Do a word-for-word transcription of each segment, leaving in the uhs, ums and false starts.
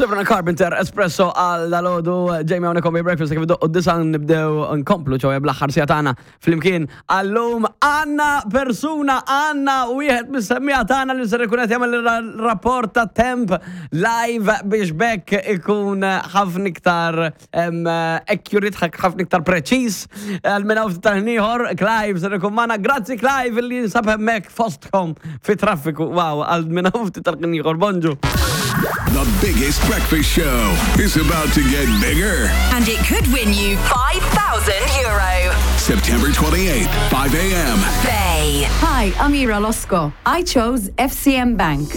Sabrina Carpenter, Espresso għal dalgħodu, Jamie hawnhekk on Breakfast, kif iddoqq id-disgħa nibdew nkomplu ċoè bl-aħħar siegħa tagħna flimkien. Għallum għandna persuna, għandna wieħed mis-semmiegħa tagħna li ser ikun qed jagħmel rapport ta' temp live biex bekk ikun ħafna iktar em, accurate, ħafna iktar preċiż. Għal minn hawn tal-ieħor, Clive ser ikun magħna. Grazzi, Clive, li jinsab hemmhekk fostkom fi traffiku. Wow, għal minn hawn tal-ieħor, bonġu. The biggest breakfast show is about to get bigger. And it could win you five thousand euro. September twenty-eighth, five a m. Bay. Hi, I'm Ira Losco. I chose F C M Bank.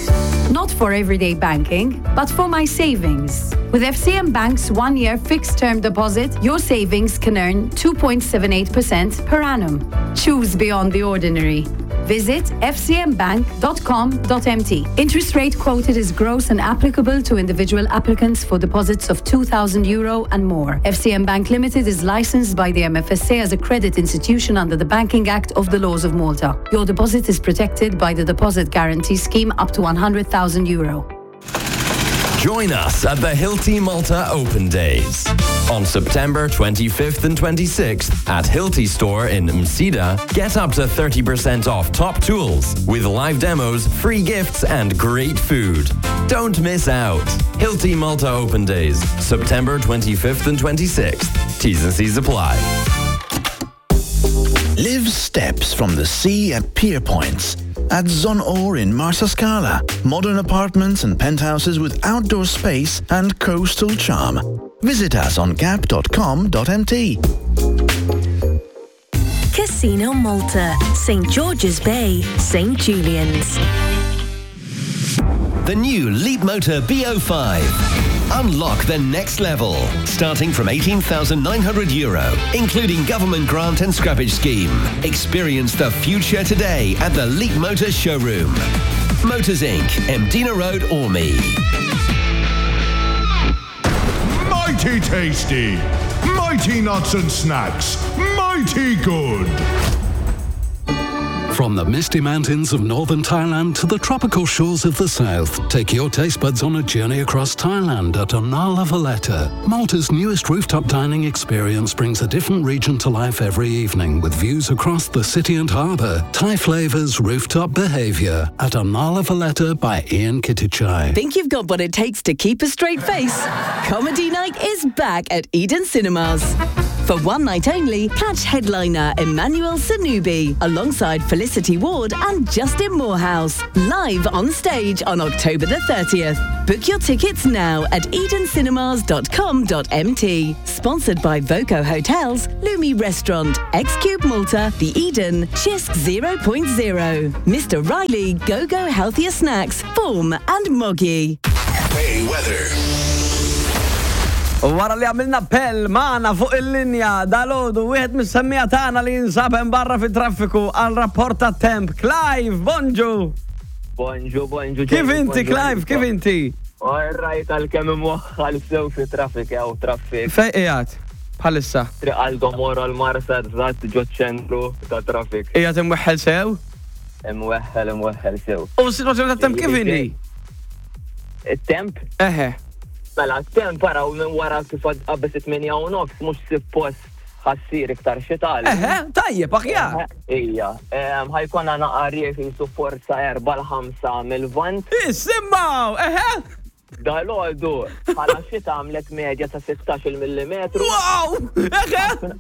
Not for everyday banking, but for my savings. With F C M Bank's one year fixed term deposit, your savings can earn two point seven eight percent per annum. Choose beyond the ordinary. Visit F C M bank dot com dot M T. Interest rate quoted is gross and applicable to individual applicants for deposits of two thousand euro and more. F C M Bank Limited is licensed by the M F S A as a credit institution under the Banking Act of the Laws of Malta. Your deposit is protected by the Deposit Guarantee Scheme up to one hundred thousand euro. Join us at the Hilti Malta Open Days. On September twenty-fifth and twenty-sixth at Hilti Store in Msida, get up to thirty percent off top tools with live demos, free gifts, and great food. Don't miss out. Hilti Malta Open Days, September twenty-fifth and twenty-sixth. T's and C's apply. Live steps from the sea at Pier Points. At Zonor in Marsascala. Modern apartments and penthouses with outdoor space and coastal charm. Visit us on gap dot com dot M T. Casino Malta, Saint George's Bay, Saint Julian's. The new Leapmotor B oh five. Unlock the next level, starting from eighteen thousand nine hundred euro, including government grant and scrappage scheme. Experience the future today at the Leapmotor showroom. Motors Incorporated, Mdina Road, Qormi. Mighty tasty! Mighty nuts and snacks! Mighty good! From the misty mountains of northern Thailand to the tropical shores of the south, take your taste buds on a journey across Thailand at Anala Valletta. Malta's newest rooftop dining experience brings a different region to life every evening with views across the city and harbour. Thai flavours, rooftop behaviour at Anala Valletta by Ian Kittichai. Think you've got what it takes to keep a straight face? Comedy Night is back at Eden Cinemas. For one night only, catch headliner Emmanuel Sonubi alongside Felicity Ward and Justin Moorhouse live on stage on October the thirtieth. Book your tickets now at edencinemas dot com dot M T. Sponsored by Voco Hotels, Lumi Restaurant, X-Cube Malta, The Eden, Cisk 0.0, Mister Riley, Go Go Healthier Snacks, Form and Moggy. Bay Weather. U wara li għamilna appell, magħna fuq il-linja dalgħodu wieħed mis-semmiegħa tagħna li jinsab hemm barra fit traffiku għal rapport ta' temp. Clive, bonġu! Bonġu, bonġu. Kif inti, Clive? Kif inti? Alright, għalkemm imwaħħal sew fi traffic, jew traffic. Fejn qiegħed? Bħalissa. Triq Aldo Moro l-Marsa, eżatt ġo ċentru ta' traffic. Qiegħed imweħħel sew? Imweħħel, imweħħel sew. U s-situazzjoni ta' temp kif inhi? Il-temp? Eħe. Mela, il-temp araw minn wara kif qabeż it-tmienja u nofs mhux suppost ħa ssir iktar xita. Eħe, tajjeb, aħjar. Ija, ħa jkollna naqra rieħ su forza erba' l-ħamsa mill-vant. Isimgħu, eħe. Dalgħodu, bħala xita għamlet medja ta' sittax-il millimetru. Wow! Eħe!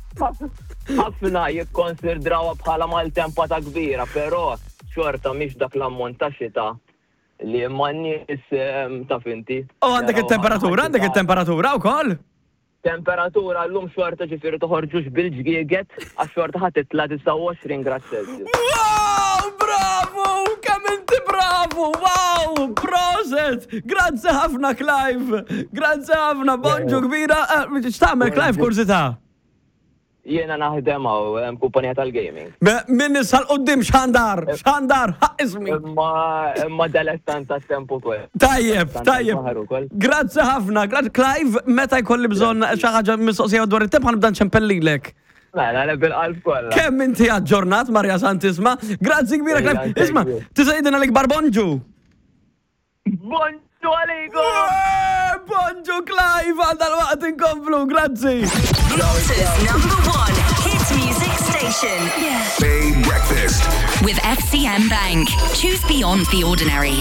Ħafna jikkonsidrawha bħala maltempata kbira, però xorta mhix dak l-ammont ta' xita li ma n-nies taf inti. U għandek il-temperatura, għandek il-temperatura wkoll? Temperatura l-lum xorta, ġifieri toħorġux bil-ġgieget, għax xorta ħa titla' disgħa u għoxrin grad Celsius. Wow, bravo! Kemm inti bravo! Wow, proset! Grazzi ħafna, Clive! Grazzi ħafna, bonġu kbira! Eh, X'tagħmel, Clive, kurżità? Jiena naħdem hawn kumpanija tal-gaming. Minn issa 'l quddiem xandar, xandar, ħaq ismi. Imma imma dilettant tat-temp ukoll. Tajjeb, tajjeb. Baħar ukoll. Grazzi ħafna, grazzi, Clive, meta jkolli bżonn xi ħaġa mistoqsija dwar it-temp ħa nibda nċempellilek. Mela, le, bil-qalb kollha. Kemm inti aġġornat, Marja Santisma. Grazzi kbira, Ejja, Clive. Thank Isma, you. tista' jidina l-ikbar bonġu. Bonġu għalikom! Bonġu! Inħarġu live għal dal-waqt inkomplu, grazzi. Malta's number one hit music station. Bay Breakfast. With F C M Bank. Choose beyond the ordinary.